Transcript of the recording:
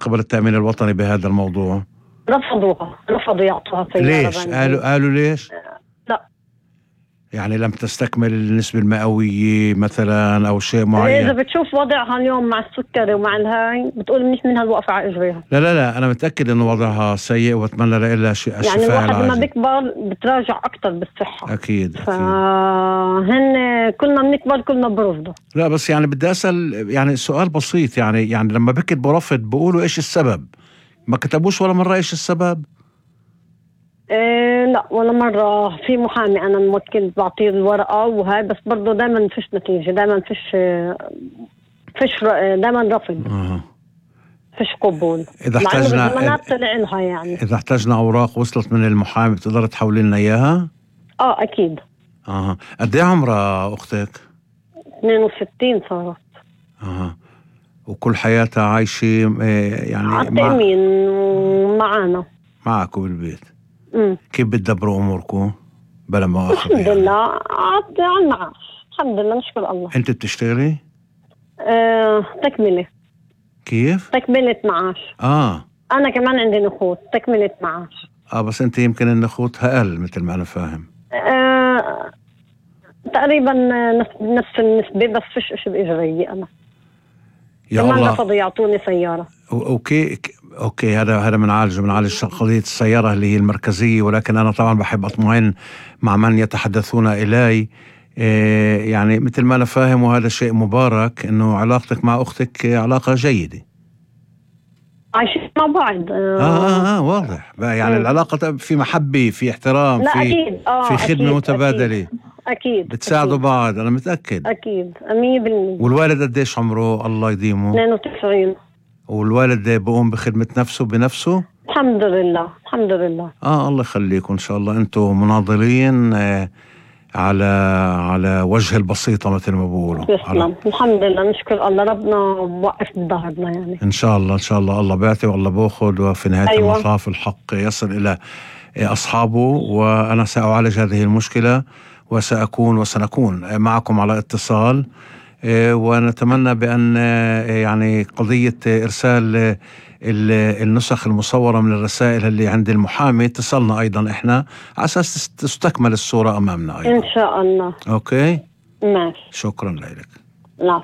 قبل التأمين الوطني بهذا الموضوع؟ رفضوا يعطوها سيارة. ليش؟ قالوا ليش؟ لا، يعني لم تستكمل النسبة المئوية مثلا أو شيء معين؟ إذا بتشوف وضعها اليوم مع السكري ومع الهاي بتقول منيح منها الوقفة على إجريها. لا أنا متأكد إنه وضعها سيء وأتمنى لها الشفاء يعني الواحد العاجل. لما بيكبر بتراجع أكتر بالصحة. أكيد. فهن كلنا بنكبر كلنا برفضه. لا بس يعني بدي أسأل يعني سؤال بسيط، يعني لما بكتبوا رفض بقولوا إيش السبب؟ ما كتبوش ولا مرة إيش السبب؟ لا ولا مرة. في محامي أنا موكل بعطيه الورقة وهاي، بس برضو دايما فيش نتيجة، دايما فيش دايما رفض. فيش قبول. إذا احتاجنا طلع لها يعني إذا احتاجنا أوراق وصلت من المحامي بتقدر تحولي لنا إياها؟ أكيد. قد إيه عمرها أختك؟ 62 صارت. وكل حياتها عايشة يعني عالتأمين ومعانا معكم بالبيت. كيف بتدبروا أموركم بلا مؤاخذة؟ الحمد لله على المعاش، الحمد لله نشكر الله. أنت بتشتغلي؟ تكملة. كيف؟ تكملة معاش. أنا كمان عندي نخوت تكملة معاش. بس أنت يمكن النخوتها أقل مثل ما أنا فاهم. تقريبا نفس النسبة، بس فيش إشي بإجري. أنا يا كمان الله رفضوا يعطوني سيارة. أوكي هذا بنعالج قضية السيارة اللي هي المركزية، ولكن أنا طبعا بحب أطمئن مع من يتحدثون إلي. يعني مثل ما أنا فاهم وهذا شيء مبارك إنه علاقتك مع أختك علاقة جيدة. عايشين مع بعض. واضح يعني العلاقة في محبة، في احترام، لا في أكيد. في خدمة متبادلة. أكيد بتساعدوا بعض، أنا متأكد. أكيد 100%. والوالد قديش عمره الله يديمه؟ 92. والوالد بقوم بخدمة نفسه بنفسه؟ الحمد لله الحمد لله. الله يخليكم إن شاء الله. أنتم مناضلين على وجه البسيطة مثل ما بقولوا. الحمد لله نشكر الله، ربنا وقف بظهرنا يعني. إن شاء الله الله بيعطي والله بأخذ، وفي نهاية المطاف الحق يصل إلى أصحابه. وأنا سأعالج هذه المشكلة وسنكون معكم على اتصال، ونتمنى بأن يعني قضية إرسال النسخ المصورة من الرسائل اللي عند المحامي تصلنا أيضا إحنا على أساس تستكمل الصورة أمامنا أيضا إن شاء الله. أوكي ماشي. شكرا لك. لا